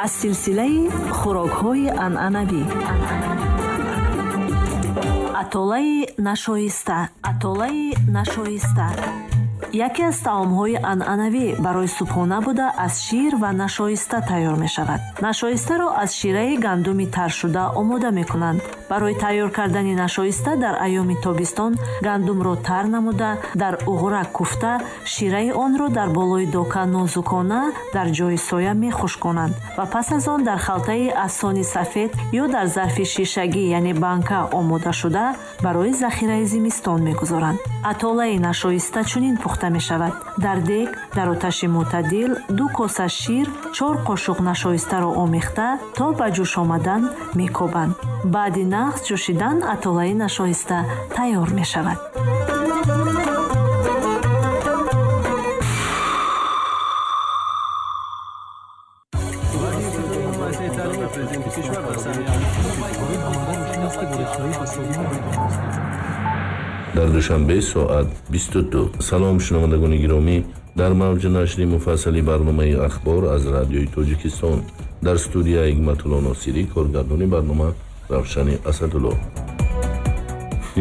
Аз силсилаи хӯрокҳои анъанавӣ атолаи нашоиста. Атолаи нашоиста яке аз таомҳои анъанавӣ барои субҳона буда, аз шир ва нашоиста тайёр мешавад. Нашоистаро аз шираи гандуми таршуда омода мекунанд. Барои тайёр кардани нашоиста дар айёми тобистон гандумро тар намуда, дар уғра куфта, шираи онро дар болои дока нозукона дар ҷои соя мехушконанд ва пас аз он дар халтаи аз сони сафед ё дар зарфи шишагӣ, яъне банка омодашуда барои захираи зимистон мегузоранд. Атолаи нашоиста чунин пухта мешавад. Дар дег дар оташи мӯътадил 2 коса шир, 4 қошуқ нашоистаро омехта то ба ҷӯш омадан мекобанд. Баъди нағз ҷӯшидан атолаи нашоиста тайёр мешавад. Дар Душанбе соат 22. Салом, шунавандагони гиромӣ, дар мавҷи нашри муфассали барномаи «Ахбор» аз Радиои Тоҷикистон. Дар студия Ҳикматулло Носирӣ, коргардони барнома Равшани Асадулло.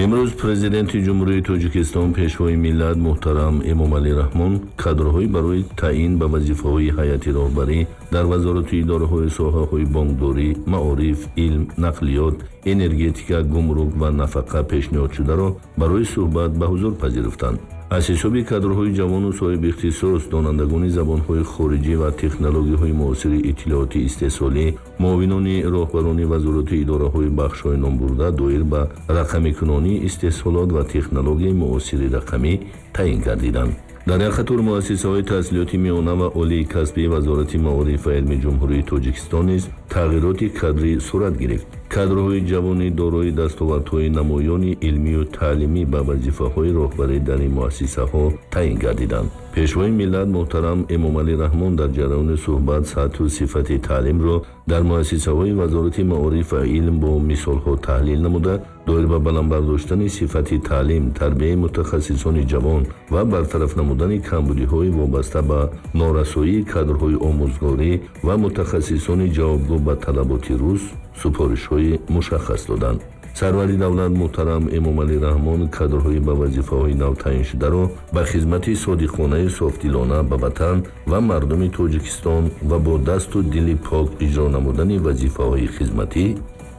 Имрӯз Президенти Ҷумҳурии Тоҷикистон, Пешвои миллат муҳтарам Эмомалӣ Раҳмон кадрҳои барои таъин ба вазифаҳои ҳайати роҳбарӣ дар вазорату идораҳои соҳаҳои бонкдорӣ, маориф, илм, нақлиёт, энергетика, гумрук ва нафақа пешниҳодшударо барои суҳбат ба ҳузур пазируфтанд. Аз ҳисоби кадрҳои ҷавону соҳибихтисос, донандагони забонҳои хориҷӣ ва технологияҳои муосири иттилоотӣ истеҳсолӣ, муовинони роҳбарони вазорату идораҳои бахшҳои номбурда доир ба рақамикунонии истеҳсолот ва технологияи муосири рақамӣ таъин гардиданд. Дар як қатор муассисаҳои таҳсилоти миёна ва олии касбии Вазорати маориф ва илми Ҷумҳурии Тоҷикистон низ тағйироти кадрӣ сурат гирифт. Кадрҳои ҷавони дорои дастовардҳои намоёни илмию таълимӣ ба вазифаҳои роҳбарӣ дар ин муассисаҳо таъин гардиданд. Пешвои миллат муҳтарам Эмомалӣ Раҳмон дар ҷараёни суҳбат сатҳу сифати таълимро дар муассисаҳои Вазорати маориф ва илм бо мисолҳо таҳлил намуда, доир ба баланд бардоштани сифати таълим, тарбияи мутахассисони ҷавон ва бартараф намудани камбудиҳои вобаста ба норасоии кадрҳои омӯзгорӣ ва мутахассисони ҷавобгӯ ба талаботи рӯз супоришҳои мушаххас доданд. Сарвари давлат муҳтарам Эмомалӣ Раҳмон кадрҳои ба вазифаҳои нав таъиншударо ба хизмати содиқонаи софдилона ба ватан ва мардуми Тоҷикистон ва бо дасту дили пок иҷро намудани вазифаҳои хизматӣ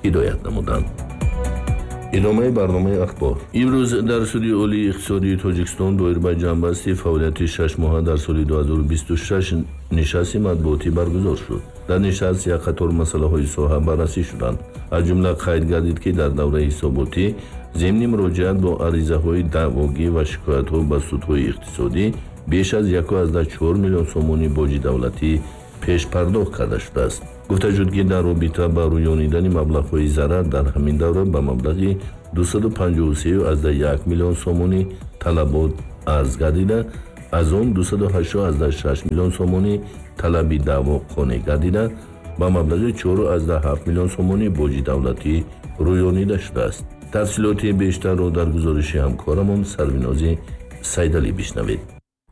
ҳидоят намуданд. Идомаи барномаи «Ахбор». Имрӯз дар Суди Олии иқтисодии Тоҷикистон доир ба ҷамъбасти фаъолияти 6 моҳа дар соли 2026 нишасти матбуотӣ баргузор шуд. Дар нишаст як қатор масъалаҳои соҳа баррасӣ шуданд. Аз ҷумла қайд гардид, ки дар давраи ҳисоботӣ зимни муроҷиат бо аризаҳои даъвогӣ ва шикоятҳо ба судҳои иқтисодӣ беш аз 1,4 миллион сомонӣ боҷи давлатӣ пешпардохт карда шудааст. Гуфта шуд, ки дар робита ба рӯёнидани маблағҳои зарар дар ҳамин давра ба маблағи 253,1 миллион сомонӣ талабот арз гардида, аз он 280,6 миллион сомонӣ талаби даъво қонеъ гардида, ба маблағи 4,7 миллион сомонӣ боҷи давлатӣ рӯёнида шудааст. Тафсилоти бештарро дар гузориши ҳамкорамон Сарвинози Сайдалӣ бишнавед.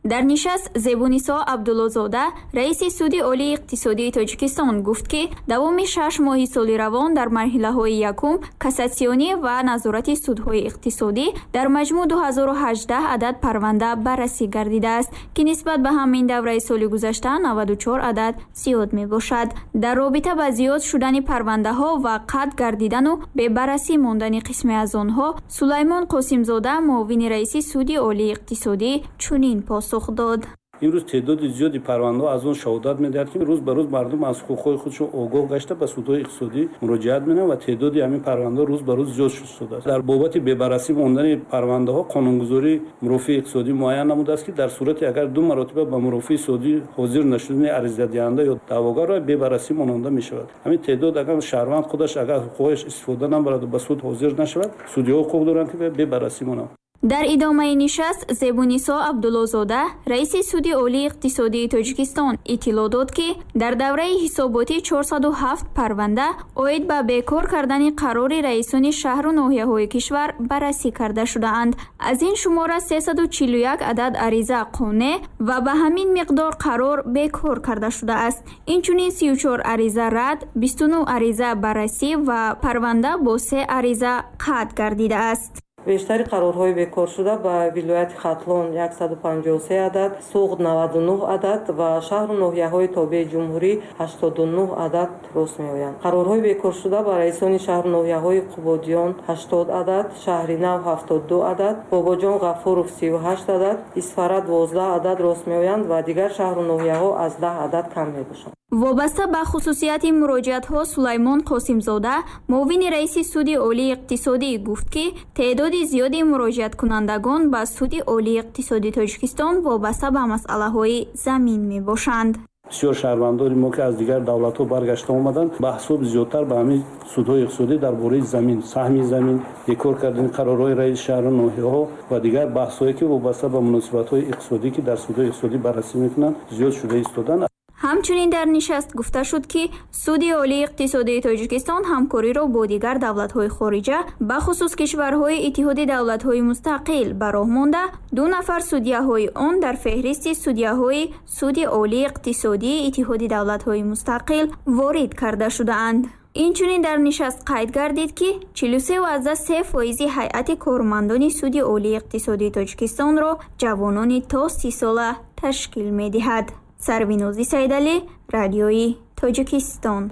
Дар нишаст Зебунисо Абдуллозода, раиси Суди Олии иқтисодии Тоҷикистон, гуфт, ки давоми 6 моҳи соли равон дар марҳилаҳои якум, кассатсионӣ ва назорати судҳои иқтисодӣ дар маҷмӯъ 2018 адад парванда баррасӣ гардидааст, ки нисбат ба ҳамин давраи соли гузашта 94 адад зиёд мебошад. Дар робита ба зиёд шудани парвандаҳо ва қатъ гардидану бебаррасӣ мондани қисме аз онҳо Сулаймон Қосимзода, муовини раиси Суди Олии иқтисодӣ, чунин посух дод. Имрӯз теъдоди зиёди парвандаҳо аз он шаҳодат медиҳад, ки рӯз ба рӯз мардум аз ҳуқуқҳои худшон огоҳ гашта, ба судҳои иқтисодӣ муроҷиат менамоянд ва теъдоди ҳамин парвандаҳо рӯз ба рӯз зиёд шудааст. Дар бобати бебаррасӣ мондани парвандаҳо қонунгузорӣ мурофиаи иқтисодӣ муайян намудааст, ки дар сурате агар ду маротиба ба мурофиаи иқтисодӣ ҳозир нашудани аризадиҳанда ё даъвогарро бебаррасӣ мононда мешавад. Ҳамин теъдод, агар шаҳрванд худаш агар ҳуқуқҳояш истифода набараду ба суд ҳозир нашавад, судиҳо ҳуқуқ доранд, ки бебаррасӣ монанд. Дар идомаи нишаст Зебунисо Абдуллозода, раиси Суди Олии иқтисодии Тоҷикистон, иттилоъ дод, ки дар давраи ҳисоботӣ 407 парванда оид ба бекор кардани қарори раисони шаҳру ноҳияҳои кишвар баррасӣ карда шудаанд. Аз ин шумора 341 адад ариза қонеъ ва ба ҳамин миқдор қарор бекор карда шудааст. Инчунин 34 ариза рад, 29 ариза баррасӣ ва парванда бо 3 ариза қатъ гардидааст. Бештари қарорҳои бекоршуда ба вилояти Хатлон 153 адад, Суғд 99 адад ва шаҳру ноҳияҳои тобеи ҷумҳурӣ 89 адад рост меоянд. Қарорҳои бекоршуда ба раисони шаҳру ноҳияҳои Қубодиён 80 адад, Шаҳринав 72 адад, Бобоҷон Ғафуров 38 адад, Исфара 12 адад рост меоянд ва дигар шаҳру ноҳияҳо аз 10 адад кам мебошанд. Вобаста ба хусусияти муроҷиатҳо Сулаймон Қосимзода, муовини раиси Суди Олии иқтисодӣ, гуфт, ки теъдоди зиёди муроҷиаткунандагон ба Суди Олии иқтисодии Тоҷикистон вобаста ба масъалаҳои замин мебошанд. Бисёр шаҳрвандони мо, ки аз дигар давлатҳо баргашта омаданд, ба ҳисоби зиёдтар ба ҳамин судҳои иқтисодӣ дар бораи замин, саҳми замин, бекор кардани қарорҳои раиси шаҳру ноҳияҳо ва дигар баҳсҳое, ки вобаста ба муносибатҳои иқтисодӣ, ки дар судҳои иқтисодӣ баррасӣ мекунанд, зиёд шуда истоданд. Ҳамчунин дар нишаст гуфта шуд, ки Суди Олии иқтисодии Тоҷикистон ҳамкориро бо дигар давлатҳои хориҷа, бахусус кишварҳои Иттиҳоди давлатҳои мустақил, ба роҳ монда, 2 нафар судяҳои он дар феҳристи судяҳои Суди Олии иқтисодии Иттиҳоди давлатҳои мустақил ворид карда шудаанд. Инчунин дар нишаст қайд гардид, ки 43,3% ҳайати кормандони Суди Олии иқтисодии Тоҷикистонро ҷавонони то 30 сола ташкил медиҳад. Сарвинози Саидалӣ, Радиои Тоҷикистон.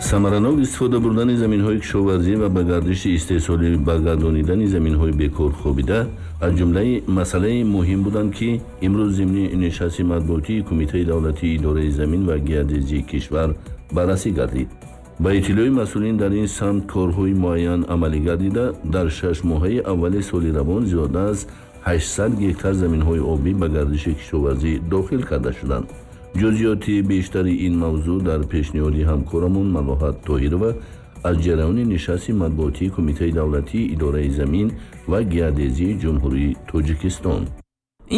Самаранок истифода бурдани заминҳои кишоварзӣ ва ба гардиши истеҳсолӣ баргардонидани заминҳои бекор хобида аз ҷумлаи масъалаи муҳим буданд, ки имрӯз зимни нишасти матбуотии Кумитаи давлатии идораи замин ва геодезии кишвар баррасӣ гардид. Ба иттилои масъулин, дар ин самт корҳои муайян амалӣ гардида, дар 6 моҳаи аввали соли равон зиёда аз 800 гектар заминҳои обӣ ба гардиши кишоварзӣ дохил карда шуданд. Ҷузъиёти бештари ин мавзӯъ дар пешниҳоди ҳамкорамон Малоҳат Тоҳирова аз ҷараёни нишасти матбуотии Кумитаи давлатии идораи замин ва геодезии Ҷумҳурии Тоҷикистон.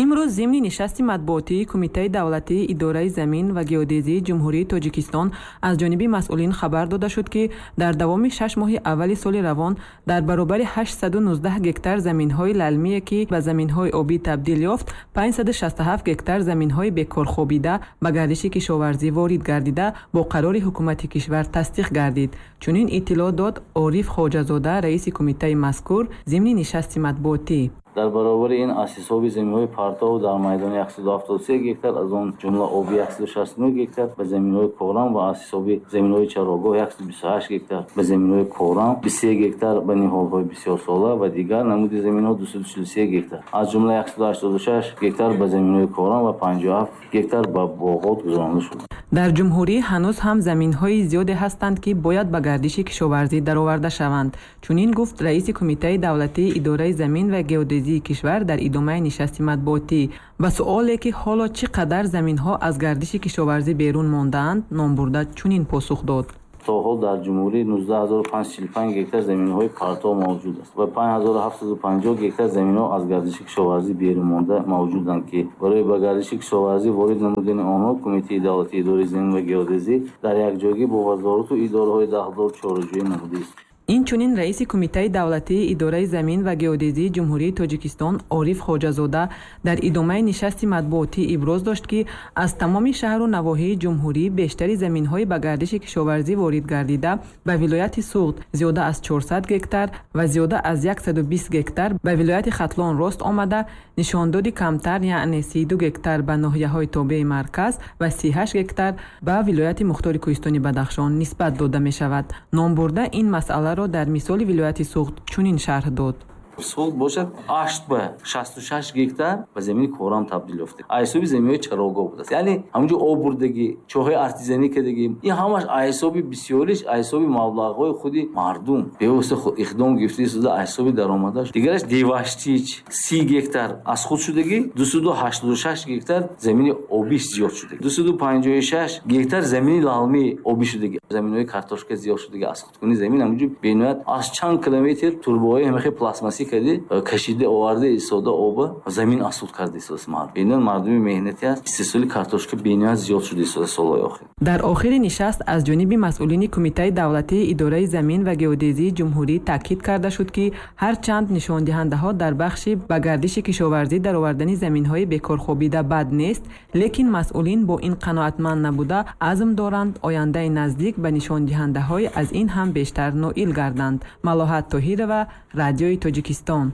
Имрӯз зимни нишасти матбуотии Кумитаи давлатии идораи замин ва геодезии Ҷумҳурии Тоҷикистон аз ҷониби масъулин хабар дода шуд, ки дар давоми 6 моҳи аввали соли равон дар баробари 819 гектар заминҳои лалмие, ки ба заминҳои обӣ табдил ёфт, 567 гектар заминҳои бекорхобида ба гардиши кишоварзӣ ворид гардида, бо қарори ҳукумати кишвар тасдиқ гардид. Чунин иттилоъ дод Ориф Хоҷазода, раиси кумитаи мазкур, зимни нишасти матбуотӣ. Дар баробари ин аз ҳисоби заминҳои партов дар майдони 173 гектар, аз он ҷумла оби 169 гектар ба заминҳои корам ва аз ҳисоби заминҳои чарогоҳ 128 гектар ба заминҳои корам, 23 гектар ба ниҳолҳои бисёрсола ва дигар намуди заминҳо 243 гектар, аз ҷумла 186 гектар ба заминҳои корам ва 57 гектар ба боғот гузаронида шуд. Дар ҷумҳурӣ ҳанӯз ҳам заминҳои зиёде ҳастанд, ки бояд ба гардиши кишоварзӣ дароварда шаванд. Чунин гуфт раиси Кумитаи давлатии идораи замин ва геодезии кишвар дар идомаи нишасти матбуотӣ. Ба суоле, ки ҳоло чӣ қадар заминҳо аз гардиши кишоварзӣ берун мондаанд, номбурда чунин посух дод. То ҳол дар ҷумҳурӣ 19545 гектар заминҳои партов мавҷуд аст ва 5750 гектар заминҳо аз гардиши кишоварзӣ берун монда мавҷуданд, ки барои ба гардиши кишоварзӣ ворид намудани онҳо Кумитаи давлатии идораи замин ва геодезӣ дар якҷоягӣ бо вазорату идораҳои дахлдор чораҷӯӣ намудааст. Инчунин раиси Кумитаи давлатии идораи замин ва геодезии Ҷумҳурии Тоҷикистон Ориф Хоҷазода дар идомаи нишасти матбуотӣ иброз дошт, ки аз тамоми шаҳру навоҳии ҷумҳурӣ бештари заминҳои ба гардиши кишоварзӣ ворид гардида ба вилояти Суғд зиёда аз 400 гектар ва зиёда аз 120 гектар ба вилояти Хатлон рост омада, нишондоди камтар, яъне 32 гектар ба ноҳияҳои тобеи марказ ва 38 гектар ба вилояти Мухтори Кӯҳистони Бадахшон нисбат дода мешавад. Номбурда ин масъаларо дар мисоли вилояти Суғд чунин шарҳ дод. Суғд бошад 8 ба 66 гектар ба замини корам табдил ёфта, аз ҳисоби заминҳои чарогоҳ будааст, яъне ҳамунҷо об бурдагӣ, чоҳҳои артезианӣ кардагӣ. Ин ҳамаш аз ҳисоби бисёриш, аз ҳисоби маблағҳои худи мардум бевосита иқдом гирифта истода, аз ҳисоби даромадаш. Дигараш Деваштич 30 гектар аз худ шудагӣ, 286 гектар замини обиш зиёд шудагӣ, 256 гектар замини лалмӣ обӣ шудагӣ, заминҳои картошка зиёд шудагӣ. Аз худкунӣ замин ҳамунҷо бениҳоят аз чанд километр турбаҳои ҳамахе пластмассӣ кади кашида оварда истода оба замин асуд карда истодааст мардум. Бениҳоят мардуми меҳнатӣ аст. Истеҳсоли картошка бениҳоят зиёд шуда истодааст солҳои охир. Дар охири нишаст аз ҷониби масъулини Кумитаи давлатии идораи замин ва геодезии ҷумҳурӣ таъкид карда шуд, ки ҳарчанд нишондиҳандаҳо дар бахши ба гардиши кишоварзӣ даровардани заминҳои бекорхобида бад нест, лекин масъулин бо ин қаноатманд набуда азм доранд ояндаи наздик ба нишондиҳандаҳои аз ин ҳам бештар ноил гарданд. Малоҳат Тоҳирова, Радиои Тоҷикистон.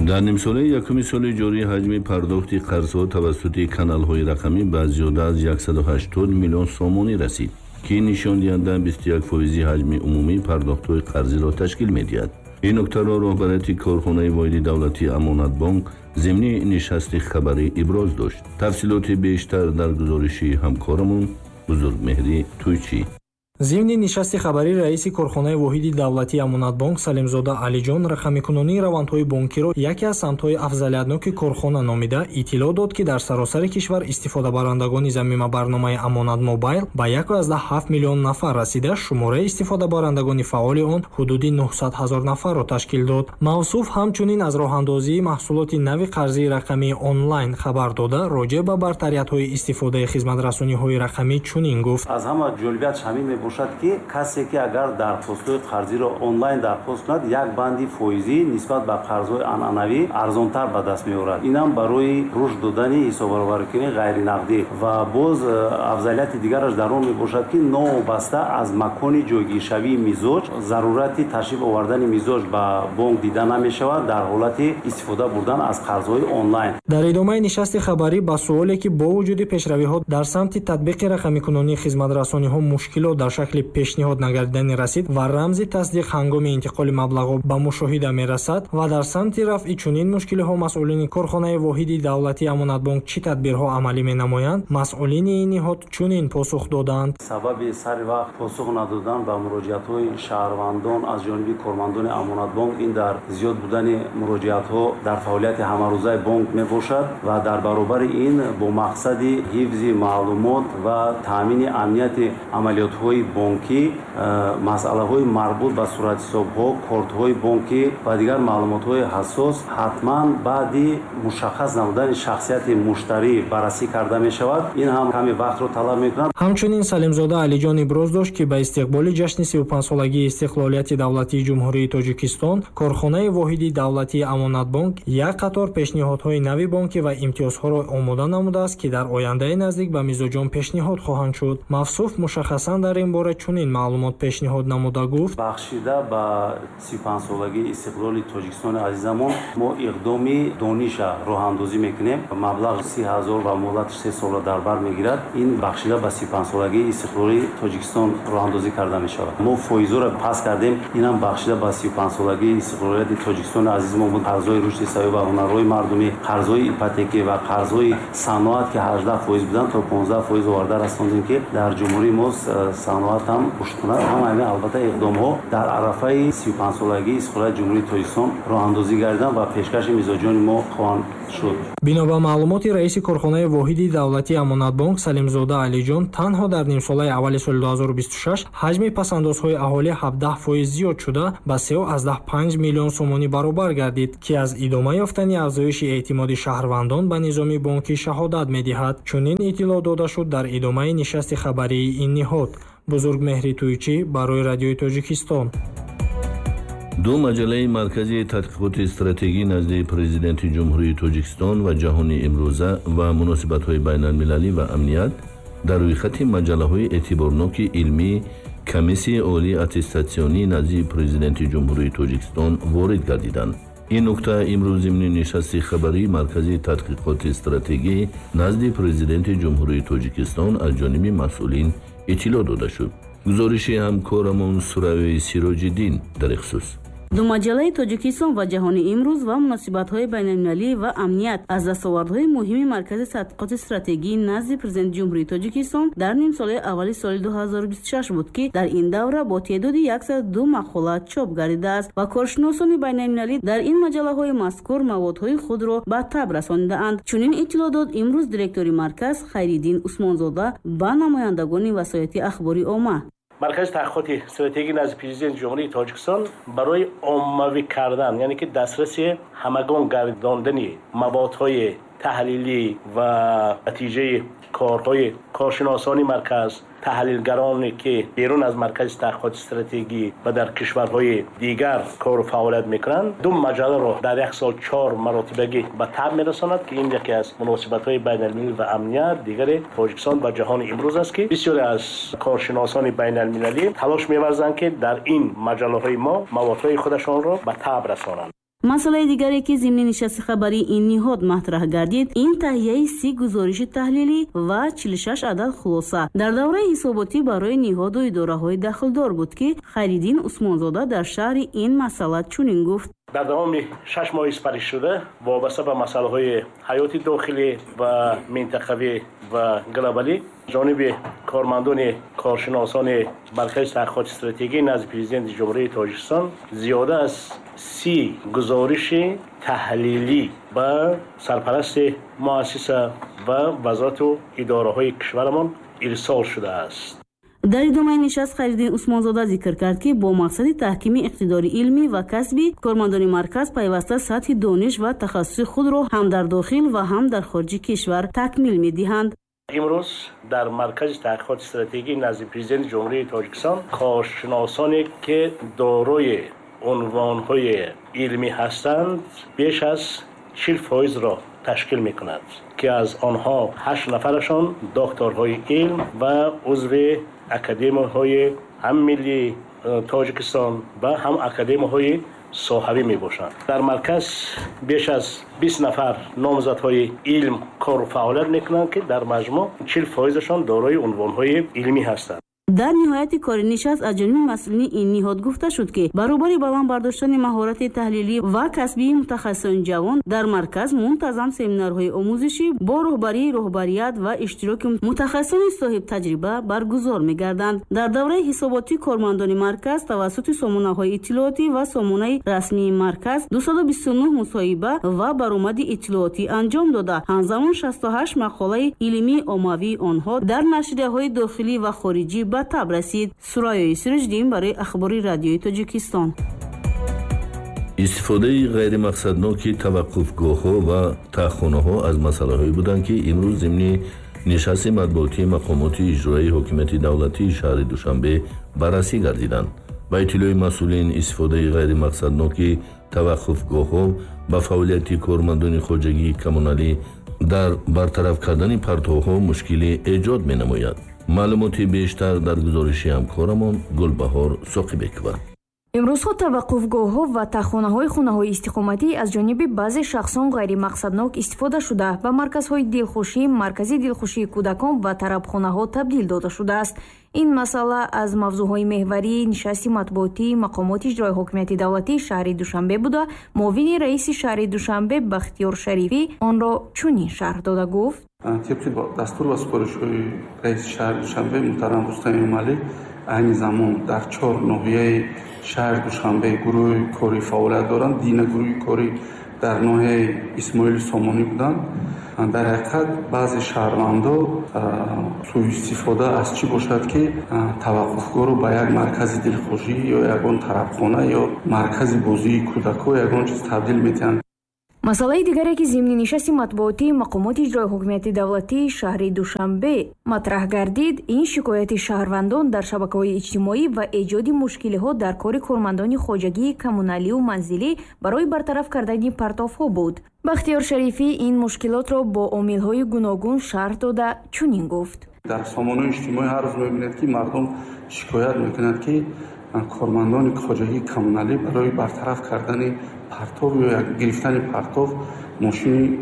Дар нимсолаи якуми соли ҷорӣ ҳаҷми пардохти қарзҳо тавассути каналҳои рақамӣ ба зиёда аз 180 миллион сомонӣ расид, ки нишондиҳанда 21 фоизи ҳаҷми умумии пардохтҳои қарзиро ташкил медиҳад. Ин нуктаро роҳбарияти корхонаи воҳиди давлатии Амонатбонк зимни нишасти хабарӣ иброз дошт. Тафсилоти бештар дар гузориши ҳамкорамон Бузургмеҳрӣ Тӯйчӣ. Зимни нишасти хабарӣ раиси корхонаи воҳиди давлатии Амонатбонк Салимзода Алиҷон рақамикунонии равандҳои бонкиро яке аз самтҳои афзалиятноки корхона номида иттилоъ дод, ки дар саросари кишвар истифодабарандагони замима барномаи Амонат Мобайл ба 1,7 миллион нафар расида, шумораи истифодабарандагони фаъоли он ҳудуди 900 ҳазор нафарро ташкил дод. Мавсуф ҳамчунин аз роҳандозии маҳсулоти нави қарзии рақамии онлайн хабар дода, роҷеъ ба бартариятҳои истифодаи хизматрасониҳои рақамӣ чунин гуфт: аз ҳама ҷолибиятш ҳамин мебошад, ки касе ки агар дархостҳои қарзиро онлайн дархост кунад, як банди фоизӣ нисбат ба қарзҳои анъанавӣ арзонтар ба даст меорад. Инам барои рушд додани ҳисоббаробаркунии ғайринақдӣ. Ва боз афзалияти дигараш дар он мебошад, ки новобаста аз макони ҷойгиршавии мизоҷ зарурати ташриф овардани мизоҷ ба бонк дида намешавад дар ҳолати истифода бурдан аз қарзҳои онлайн. Дар идомаи нишасти хабарӣ ба суоле, ки бо вуҷуди пешравиҳо дар самти татбиқи рақамикунонии хизматрасониҳо мушкилот дар шакли пешниҳод нагардидани расид ва рамзи тасдиқ ҳангоми интиқоли маблағҳо ба мушоҳида мерасад ва дар самти рафъи чунин мушкилиҳо масъулини корхонаи воҳиди давлатии Амонатбонк чӣ тадбирҳо амалӣ менамоянд, масъулини ин ниҳод чунин посух доданд: сабаби сари вақт посух надодан ба муроҷиатҳои шаҳрвандон аз ҷониби кормандони Амонатбонк ин дар зиёд будани муроҷиатҳо дар фаъолияти ҳамарӯзаи бонк мебошад ва дар баробари ин бо мақсади ҳифзи маълумот ва таъмини амнияти амалиётҳои бонкӣ масъалаҳои марбут ба суратҳисобҳо, кортҳои бонкӣ ва дигар маълумотҳои ҳассос ҳатман баъди мушаххас намудани шахсияти муштарӣ баррасӣ карда мешавад. Ин ҳам каме вақтро талаб мекунад. Ҳамчунин Салимзода Алиҷон иброз дошт, ки ба истиқболи ҷашни 35-солагии истиқлолияти давлатии Ҷумҳурии Тоҷикистон корхонаи воҳиди давлатии Амонатбонк як қатор пешниҳодҳои нави бонкӣ ва имтиёзҳоро омода намудааст, ки дар ояндаи наздик ба мизоҷон пешниҳод хоҳанд шуд. Мавсуф мушаххасан дар ин бора чунин маълумот пешниҳод намуда гуфт: бахшида ба 35-солагии истиқлоли Тоҷикистони азизамон мо иқдоми дониша роҳандозӣ мекунем. Маблағ 30 ҳазор ва муҳлати 3 солро дар бар мегирад. Ин бахшида ба 35-солагии истиқлоли Тоҷикистон роҳандозӣ карда мешавад. Мо фоизҳоро пас кардем. Инам бахшида ба 35-солагии истиқлолияти Тоҷикистони азизамон буд. Қарзҳои рушди саёҳат ва ҳунарҳои мардумӣ, қарзҳои ипотекӣ ва қарзҳои саноат, ки 18% буданд, то 15% оварда расондем, ки дар ҷумҳурии мо саноат ҳам рушд кунад. Ҳамаи ин албатта иқдомҳо дар арафаи 35-солагии истиқлолияти Ҷумҳурии Тоҷикистон роҳандозӣ гардиданд ва пешкаши мизоҷони мо хоҳанд шуд. Бино ба маълумоти раиси корхонаи воҳиди давлатии Амонатбонк Салимзода Алиҷон, танҳо дар нимсолаи аввали соли 2026 ҳаҷми пасандозҳои аҳолӣ 17% зиёд шуда ба 3,5 миллион сомонӣ баробар гардид, ки аз идома ёфтани афзоиши эътимоди шаҳрвандон ба низоми бонкӣ шаҳодат медиҳад. Чунин иттилоъ дода шуд дар идомаи нишасти хабарии ин ниҳод. Бузургмеҳри Тӯйчӣ барои Радиои Тоҷикистон. Ду маҷаллаи марказии тадқиқоти стратегӣ назди Президенти Ҷумҳурии Тоҷикистон ва ҷаҳони имрӯза ва муносибатҳои байналмилалӣ ва амният дар рӯйхати маҷаллаҳои эътиборноки илмии Комиссияи олии аттестатсионӣ назди Президенти Ҷумҳурии Тоҷикистон ворид гардиданд. Ин нукта имрӯз зимни нишасти хабарии Маркази тадқиқоти стратегӣ назди Президенти Ҷумҳурии Тоҷикистон аз ҷониби масъулин иттилоъ дода шуд. Гузориши ҳамкорамон Сураёи Сироҷиддин дар ин хусус. Ду маҷаллаи Тоҷикистон ва ҷаҳони имрӯз ва муносибатҳои байналмилалӣ ва амният аз дастовардҳои муҳими Маркази тадқиқоти стратегии назди Президенти Ҷумҳурии Тоҷикистон дар нимсолаи аввали соли 2026 буд, ки дар ин давра бо теъдоди 102 мақола чоп гардидааст ва коршиносони байналмилалӣ дар ин маҷаллаҳои мазкур маводҳои худро ба таб расонидаанд. Чунин иттилоъ дод имрӯз директори марказ Хайриддин Усмонзода ба намояндагони васояти ахбори омма. Маркази таҳқиқоти стратегӣ назди Президенти Ҷумҳурии Тоҷикистон барои оммавӣ кардан, яъне ки дастраси ҳамагон гардондани маводҳои таҳлилӣ ва натиҷаи корҳои коршиносони марказ, таҳлилгароне ки берун аз Маркази таҳқиқоти стратегӣ ва дар кишварҳои дигар кору фаъолият мекунанд, ду маҷалларо дар як сол 4 маротибагӣ ба таб мерасонад, ки ин яке аз муносибатҳои байналмилалӣ ва амният, дигаре Тоҷикистон ба ҷаҳони имрӯз аст, ки бисёре аз коршиносони байналмилалӣ талош меварзанд, ки дар ин маҷаллаҳои мо маводҳои худашонро ба таб расонанд. Масъалаи дигаре, ки зимни нишасти хабарии ин ниҳод матраҳ гардид, ин таҳияи 30 гузориши таҳлилӣ ва 46 адад хулоса дар давраи ҳисоботӣ барои ниҳоду идораҳои дахлдор буд, ки Хайриддин Усмонзода дар шарҳи ин масъала чунин гуфт. Дар давоми 6 моҳи сипаришуда вобаста ба масъалаҳои ҳаёти дохилӣ ва минтақавӣ ва глобалӣ ҷониби кормандони коршиносони Маркази таҳқиқоти стратегӣ назди Президенти Ҷумҳурии Тоҷикистон зиёда аз 30 гузориши таҳлилӣ ба сарпарасти муассиса ва вазорату идораҳои кишварамон ирсол шудааст. Дар идомаи нишаст Хайриддин Усмонзода зикр кард, ки бо мақсади таҳкими иқтидори илмӣ ва касби кормандони марказ пайваста сатҳи дониш ва тахассуси худро ҳам дар дохил ва ҳам дар хориҷи кишвар такмил медиҳанд. Имрӯз дар Маркази таҳқиқоти стратегӣ назди Президенти Ҷумҳурии Тоҷикистон коршиносоне ки дорои унвонҳои илмӣ ҳастанд, беш аз 40%-ро ташкил мекунад, ки аз онҳо 8 нафарашон докторҳои илм ва узви академияҳои ҳам миллии Тоҷикистон ва ҳам академияҳои соҳавӣ мебошанд. Дар марказ беш аз 20 нафар номзадҳои илм кору фаъолият мекунанд, ки дар маҷмӯъ 40%-шон дорои унвонҳои илмӣ ҳастанд. Дар ниҳояти кори нишаст аз ҷониби масъулини ин ниҳод гуфта шуд, ки баробари баланд бардоштани маҳорати таҳлилӣ ва касбии мутахассисони ҷавон дар марказ мунтазам семинарҳои омӯзишӣ бо роҳбарии роҳбарият ва иштироки мутахассисони соҳибтаҷриба баргузор мегарданд. Дар давраи ҳисоботӣ кормандони марказ тавассути сомонаҳои иттилоотӣ ва сомонаи расмии марказ 229 мусоҳиба ва баромади иттилоотӣ анҷом дода, ҳамзамон 68 мақолаи илмии оммавии онҳо дар нашрияҳои дохилӣ ва хориҷӣ ба таб расид. Сурайёи Сироҷиддин барои Ахбори Радиои Тоҷикистон. Истифодаи ғайримақсадноки таваққуфгоҳҳо ва таҳхонаҳо аз масъалаҳое буданд, ки имрӯз зимни нишасти матбуотии мақомоти иҷроии ҳокимияти давлатии шаҳри Душанбе баррасӣ гардиданд. Ба иттилои масъулин, истифодаи ғайримақсадноки таваққуфгоҳҳо ба фаъолияти кормандони хоҷагии коммуналӣ дар бартараф кардани партовҳо мушкилӣ эҷод менамояд. Маълумоти бештар дар гузориши ҳамкорамон Гулбаҳор Соқибекова. Имрӯзҳо таваққуфгоҳҳо ва таҳхонаҳои хонаҳои истиқоматӣ аз ҷониби баъзе шахсон ғайримақсаднок истифода шуда, ба марказҳои дилхушӣ, маркази дилхушии кӯдакон ва тарабхонаҳо табдил дода шудааст. Ин масъала аз мавзӯъҳои меҳварии нишасти матбуотии мақомоти иҷрои ҳокимияти давлатии шаҳри Душанбе буда, муовини раиси шаҳри Душанбе Бахтиёр Шарифӣ онро чунин шарҳ дода гуфт: Тибқи дастур ва супоришҳои раиси шаҳри Душанбе муҳтарам Рустам Эмомалӣ, айни замон дар 4 ноҳияи шаҳри Душанбе гурӯҳи корӣ фаъолият доранд. Дина гурӯҳи корӣ дар ноҳияи Исмоили Сомонӣ буданд. Дар ҳақиқат баъзе шаҳрвандо сӯистифода аз чӣ бошад, ки таваққуфгоҳро ба як маркази дилхушӣ ё ягон тарабхона ё маркази бозии кӯдакҳо ягон чиз табдил медиҳанд. Масъалаи дигаре, ки зимни нишасти матбуотии мақомоти иҷрои ҳокимияти давлатии шаҳри Душанбе матраҳ гардид, ин шикояти шаҳрвандон дар шабакаҳои иҷтимоӣ ва эҷоди мушкилиҳо дар кори кормандони хоҷагии коммуналиву манзилӣ барои бартараф кардани партовҳо буд. Бахтиёр Шарифӣ ин мушкилотро бо омилҳои гуногун шарҳ дода чунин гуфт: Дар сомонаҳои иҷтимоӣ ҳар рӯз мебинед, ки мардум шикоят мекунанд, ки кормандони хоҷагии коммуналӣ барои бартараф кардани партов ё гирифтани партов мошини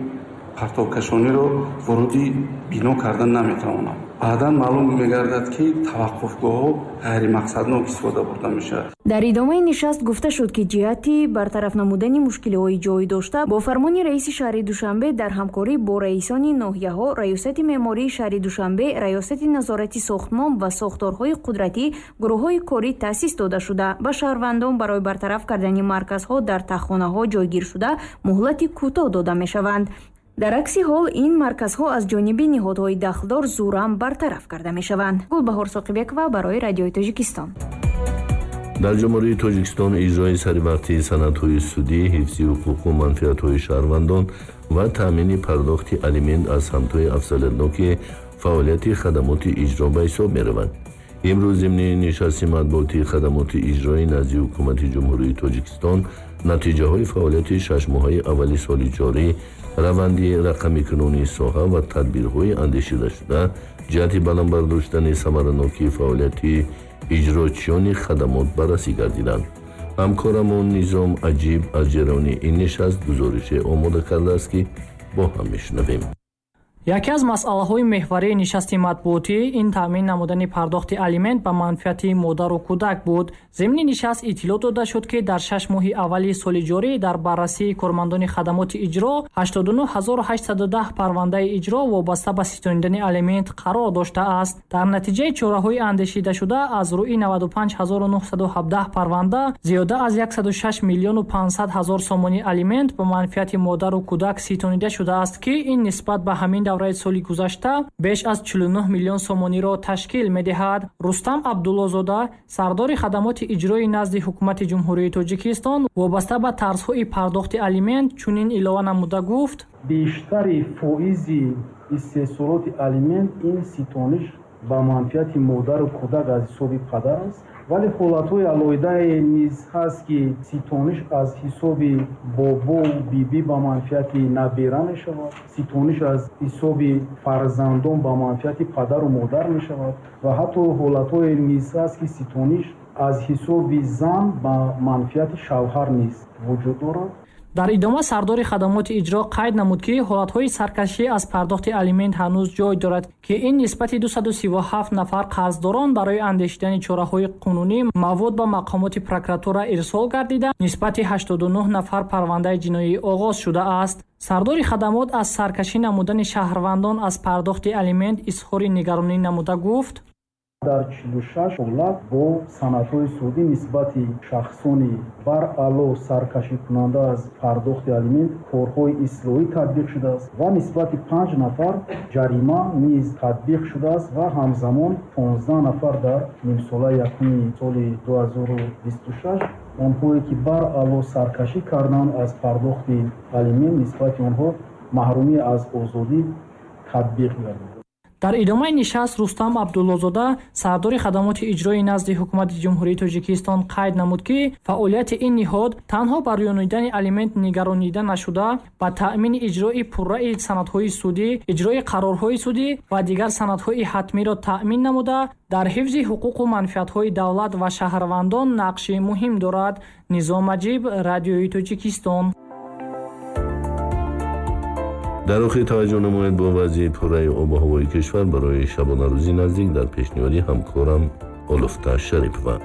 партовкашониро воруди бино кардан наметавонанд. Баъдан маълум мегардад, ки таваққуфгоҳҳо ғайримақсаднок истифода бурда мешавад. Дар идомаи нишаст гуфта шуд, ки ҷиҳати бартараф намудани мушкилиҳои ҷой дошта бо фармони раиси шаҳри Душанбе дар ҳамкорӣ бо раисони ноҳияҳо, раёсати меъмории шаҳри Душанбе, раёсати назорати сохтмон ва сохторҳои қудратӣ гурӯҳҳои корӣ таъсис дода шуда, ба шаҳрвандон барои бартараф кардани марказҳо дар таҳхонаҳо ҷойгир шуда муҳлати кӯтоҳ дода мешаванд. Дар акси ҳол ин марказҳо аз ҷониби ниҳодҳои дахлдор зӯран бартараф карда мешаванд. Гулбаҳор Соқибекова барои Радиои Тоҷикистон. Дар Ҷумҳурии Тоҷикистон иҷрои саривақтии санадҳои судӣ, ҳифзи ҳуқуқу манфиатҳои шаҳрвандон ва таъмини пардохти алимент аз самтҳои афзалиятноки фаъолияти хадамоти иҷро ба ҳисоб мераванд. Имрӯз зимни нишасти матбуотии хадамоти иҷроӣ назди Ҳукумати Ҷумҳурии Тоҷикистон натиҷаҳои фаъолияти шашмоҳаи аввали соли ҷорӣ, раванди рақамикунонии соҳа ва тадбирҳои андешидашуда ҷиҳати баланд бардоштани самаранокии фаъолияти иҷрочиёни хадамот баррасӣ гардиданд. Ҳамкорамон Низом Аҷиб аз ҷараёни ин нишаст гузорише омода кардааст, ки бо ҳам мешунавем. Яке аз масъалаҳои меҳварии нишасти матбуотӣ ин таъмин намудани пардохти алимент ба манфиати модару кӯдак буд. Зимни нишаст иттилоъ дода шуд, ки дар 6 моҳи аввали соли ҷорӣ дар баррасии кормандони хадамоти иҷро 89810 парвандаи иҷро вобаста ба ситонидани алимент қарор доштааст. Дар натиҷаи чораҳои андешидашуда аз рӯи 95917 парванда зиёда аз 106 миллиону 500 ҳазор сомонӣ алимент ба манфиати модару кӯдак ситонида шудааст, ки ин нисбат ба ҳамин давраи соли гузашта беш аз 49 миллион сомониро ташкил медиҳад. Рустам Абдуллозода, сардори хадамоти иҷрои назди Ҳукумати Ҷумҳурии Тоҷикистон, вобаста ба тарзҳои пардохти алимент чунин илова намуда гуфт: бештари фоизи истеҳсолоти алимент ин ситониш ба манфиати модару кӯдак аз ҳисоби падар аст, вале ҳолатҳои алоҳидае низ ҳаст, ки ситониш аз ҳисоби бобову бибӣ ба манфиати набера мешавад, ситониш аз ҳисоби фарзандон ба манфиати падару модар мешавад ва ҳатто ҳолатҳое низ ҳаст, ки ситониш аз ҳисоби зан ба манфиати шавҳар низ вуҷуд дорад. Дар идома сардори хадамоти иҷро қайд намуд, ки ҳолатҳои саркашӣ аз пардохти алимент ҳанӯз ҷой дорад, ки ин нисбати 237 нафар қарздорон барои андешидани чораҳои қонунӣ мавод ба мақомоти прокуратура ирсол гардида, нисбати 89 нафар парвандаи ҷиноӣ оғоз шудааст. Сардори хадамот аз саркашӣ намудани шаҳрвандон аз пардохти алимент изҳори нигаронӣ намуда гуфт: дар 46 ҳолат бо санадҳои судӣ нисбати шахсони баръало саркашикунанда аз пардохти алимент корҳои ислоҳӣ татбиқ шудааст ва нисбати 5 нафар ҷарима низ татбиқ шудааст ва ҳамзамон 15 нафар дар нимсолаи якуми соли 2026 онҳое ки баръало саркашӣ карданд аз пардохти алимент нисбати онҳо маҳрумӣ аз озодӣ татбиқ гардид. Дар идомаи нишаст Рустам Абдуллозода, сардори хадамоти иҷрои назди Ҳукумати Ҷумҳурии Тоҷикистон, қайд намуд, ки фаъолияти ин ниҳод танҳо ба рӯёнидани алимент нигаронида нашуда, ба таъмини иҷрои пурраи санадҳои судӣ, иҷрои қарорҳои судӣ ва дигар санадҳои ҳатмиро таъмин намуда, дар ҳифзи ҳуқуқу манфиатҳои давлат ва шаҳрвандон нақши муҳим дорад. Низом Аҷиб, Радиои Тоҷикистон. Дар охир таваҷҷӯҳ намоед бо вазъи пурраи обу ҳавои кишвар барои шабонарӯзи наздик дар пешниҳоди ҳамкорам Олуфта Шарипова.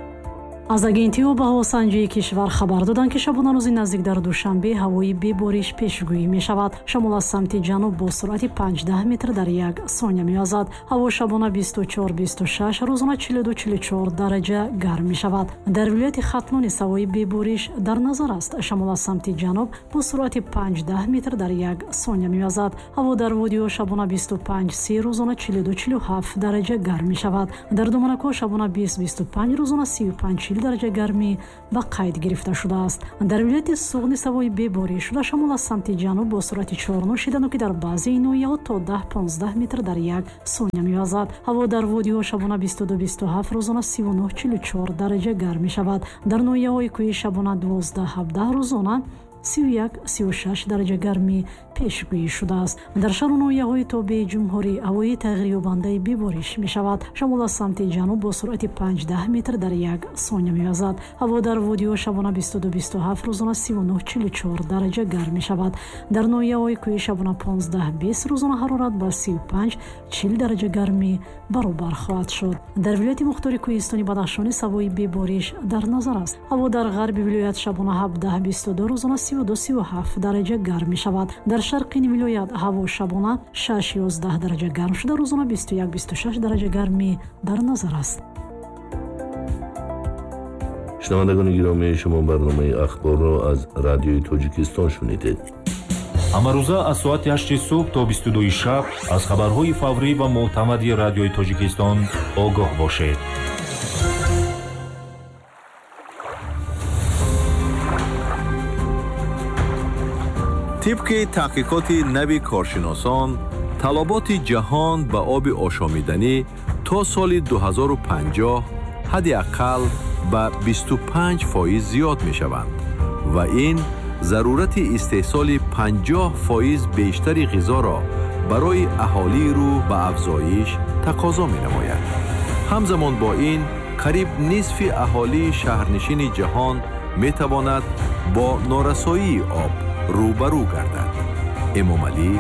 Аз агентии обуҳавосанҷии кишвар хабар доданд, ки шабонарӯзи наздик дар Душанбе ҳавои бебориш пешгӯӣ мешавад. Шамол аз самти ҷануб бо суръати 5-10 метр дар як сония мевазад. Ҳаво шабона 24-26, рӯзона 42-44 дараҷа гарм мешавад. Дар вилояти Хатлон низ ҳавои бебориш дар назар аст. Шамол аз самти ҷануб бо суръати 5-10 метр дар як сония мевазад. Ҳаво дар водиҳо шабона 25-30, рӯзона 42-47 дараҷа гарм мешавад. Дар доманакҳо шабона 20-25, рӯзона 35-40 дараҷа гармӣ ба қайд гирифта шудааст. Дар вилояти Суғд низ ҳавои бебориш шуда, шамол аз самти ҷануб бо суръати 4 шидану ки дар баъзеи ноҳияҳо то 10-15 метр дар як сония мевазад. Ҳаво дар водиҳо шабона 22-27, рӯзона 39-44 дараҷа гарм мешавад. Дар ноҳияҳои кӯҳӣ шабона 12-17, рӯзона 31-36 дараҷа гармӣ пешгӯӣ шудааст. Дар шаҳру ноҳияҳои тобеи ҷумҳурӣ ҳавои тағйирёбандаи бебориш мешавад. Шамол аз самти ҷануб бо суръати 5-10 метр дар як сония мевазад. Ҳаво дар водиҳо шабона 22-27, рӯзона 39-44 дараҷа гарм мешавад. Дар ноҳияҳои кӯҳӣ шабона 15-20, рӯзона ҳарорат ба 35-40 дараҷа гармӣ баробар хоҳад шуд. Дар вилояти мухтори кӯҳистони Бадахшон низ ҳавои бебориш дар назар аст. Ҳаво дар ғарби вилоят шабона 17-22, рӯзона 32-37 дараҷа гарм мешавад. Дар шарқи ин вилоят ҳаво шабона 6-11 дараҷа гарм шуда, рӯзона 21-26 дараҷа гармӣ дар назар аст. Шунавандагони гиромӣ, шумо барномаи ахборро аз Радиои Тоҷикистон шунидед. Ҳамарӯза аз соати 8 субҳ то 22 шаб аз хабарҳои фаврӣ ва мӯътамади Радиои Тоҷикистон огоҳ бошед. Тибқи таҳқиқоти нави коршиносон, талаботи ҷаҳон ба оби ошомиданӣ то соли 2050 ҳадди ақал ба 25% зиёд мешаванд ва ин зарурати истеҳсоли 50% бештари ғизоро барои аҳолии рӯ ба афзоиш тақозо менамояд. Ҳамзамон бо ин, қариб нисфи аҳолии шаҳрнишини ҷаҳон метавонад бо норасоии об рӯбарӯ гардад. Эмомалӣ